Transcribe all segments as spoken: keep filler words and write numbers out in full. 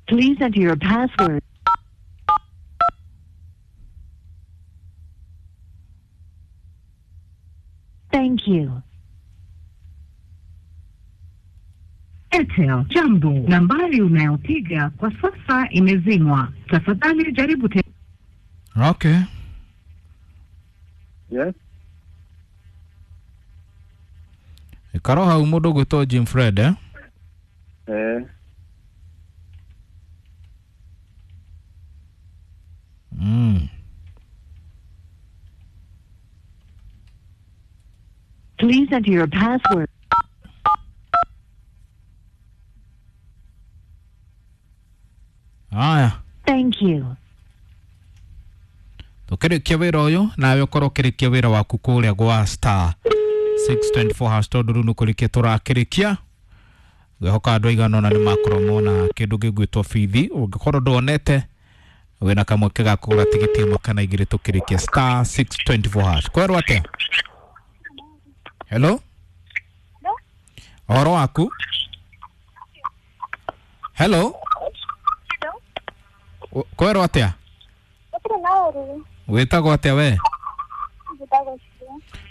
Please enter your password. Thank you. Airtel, jambo. Nambari unayopiga kwa sasa imezimwa. Tafadhali jaribu tena. Okay. Yes. Ikaro hau mũndũ ũgwĩtwo Jim Fred eh? Eh. Mm. Please enter your password. Aya. Thank you. Tukĩrĩkia wĩra ũyũ nawe ũkorwo ũkĩrĩkia wĩra waku kũrĩa gwa star six two four hash tondũ rĩu nĩ kũrĩkia tũrakĩrĩkia. Ngwĩhoka andũ aigana ũna nĩ makorwo mona kĩndũ gĩgwĩtwo bithi. Ũngĩkorwo ndwonete wĩna kamweke ga kũgũra tigiti ĩmwe kana igĩrĩ tũkĩrĩkia star six two four hash. Kwerwo atĩa? Hello? Ũhoro waku? Hello? Kwerwo atĩa? Wĩtagwo atĩa we?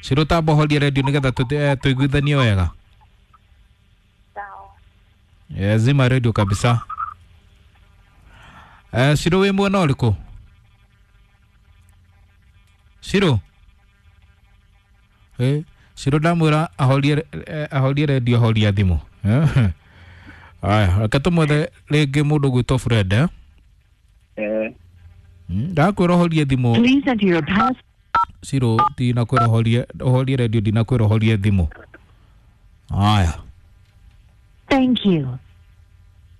Ciro tamba ũhorie redio nĩgetha tũiguithanie wega. Eh, zima redio kabisa. Eh, Ciro wĩ mwena ũrĩkũ? Ciro? Eh, Ciro ndamwĩra ahorie ahorie redio ahoria thimũ. Aya, reke tũmwethe rĩngĩ mũndũ ũgwĩtwo Fred eh? Eh. Ndakwĩra ũhorie thimũ. Please enter your pass. Ciro ndinakwĩra ũhorie ũhorie redio ndinakwĩra ũhorie thimũ. Aya. Thank you.